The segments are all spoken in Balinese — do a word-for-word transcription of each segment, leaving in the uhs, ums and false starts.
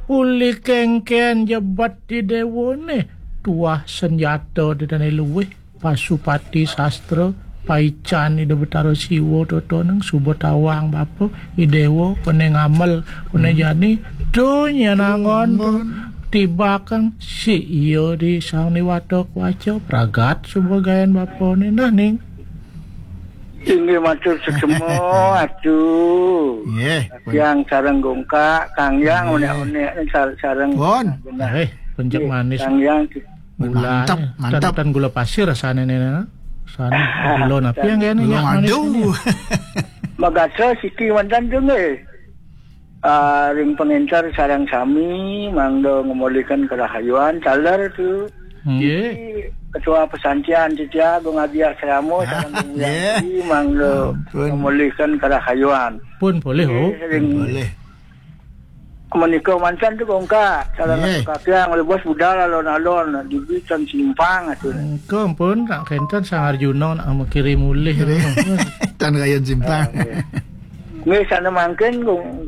Pulih kengken jebet di dewa ne. Tuah senjata di tanah luwih. Pasupati sastra. Paican Ida Betara Siwa toto neng suba tawang bapa. I dewa kone ngamel. Kone jani. Tu nyen angon tu. Tibakang si iya di sang niwata kuaca. Pragat suba gayan bapa ne. Nah, ning. Inggih matur suksma, Atu. Nggih. Yang sareng gongkak, Kang Yang, onek-onek, sar-, sareng. Pun. Benar. Eh, pencet manis. Kang Yang. Mantap, mantap. Tan gula pasir rasane ne, ne. Sana gula napi yang kene? Gula madu. Magasa siki mantan tu nggih. Ah, ring panginter sareng sami, mangda ngemolihkan kerahayuan, taler tu. Nggih. Ketua Pesantian titiang, Gung Adi Asrama, sareng Gung Wianti, mangda ngemolihkan kerahayuan. Pun boleh, oh. Nggih, ring boleh. Menika mantan tu bongkak, sareng kakiang, oleh bos budal alon-alon, dibitan simpang tu. Engko pun tak kenten Sang Arjuna nak kirim mulih. Tan kayon simpang. Nggih, sana mangkin,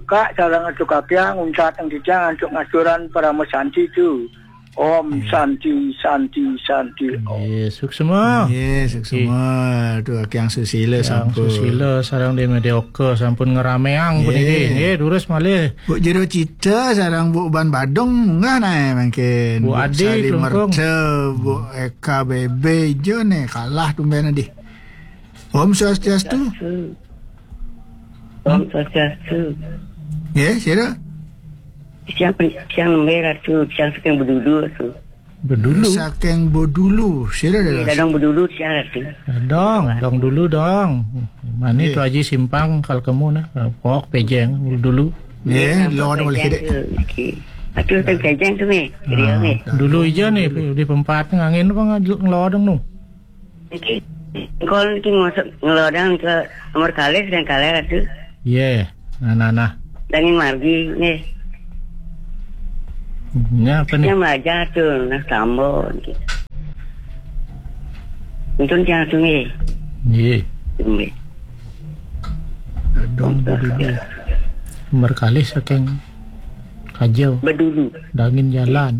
Kak, sareng atu kapiang, untat ang titiang, antuk ngasuran parama santi tu. Om Santi, Santi, Santi, Om. Nggih, suksma. Nggih, suksma. Tu Kang Susila sampun. Susila sareng Dene Deoka sampun ngerameang puniki. Nggih, durus malih. Bu Jero Cita sareng Bu Ban Badung munggah nae mangkin. Bu Adi Sari Klungkung. Merta, Bu Eka Bebe ijo ne kalah tumben adi. Om Swastiastu. Om Swastiastu. Nggih, sira? Siang, siang nembe Ratu, siang saking Bedulu tu. Bedulu? Saking Bedulu, sira dah. Dadong Bedulu siang Ratu. Dadong, dong dulu dong. Mani tu Haji Simpang kal kemu nah, pok pejeng dulu. Nggih, lo ada boleh. Okey. Atu teng pejeng tu ni. Dulu ija ni di pempat ngangin apa ngelodong nu. Iki, engkol iki ngosok ngelodang ke nomor kalih dan kalih Ratu. Iya, nah, nah, nah. Dangin margi, nggih. Nya apa ni? Nya belajar tu, nah, tambah. Untun tiang tu, nggih. Nggih. Nggih. Dong, dulu. Nomor kalih saking Kajau. Bedulu. Dangin jalan.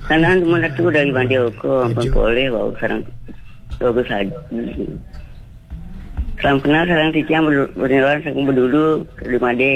Kanan teman tu dari Mandi Oko, ampun boleh, bau sarang. Bagus haji. Salam kenal, sarang titiang, berdua, saking Bedulu, di Made.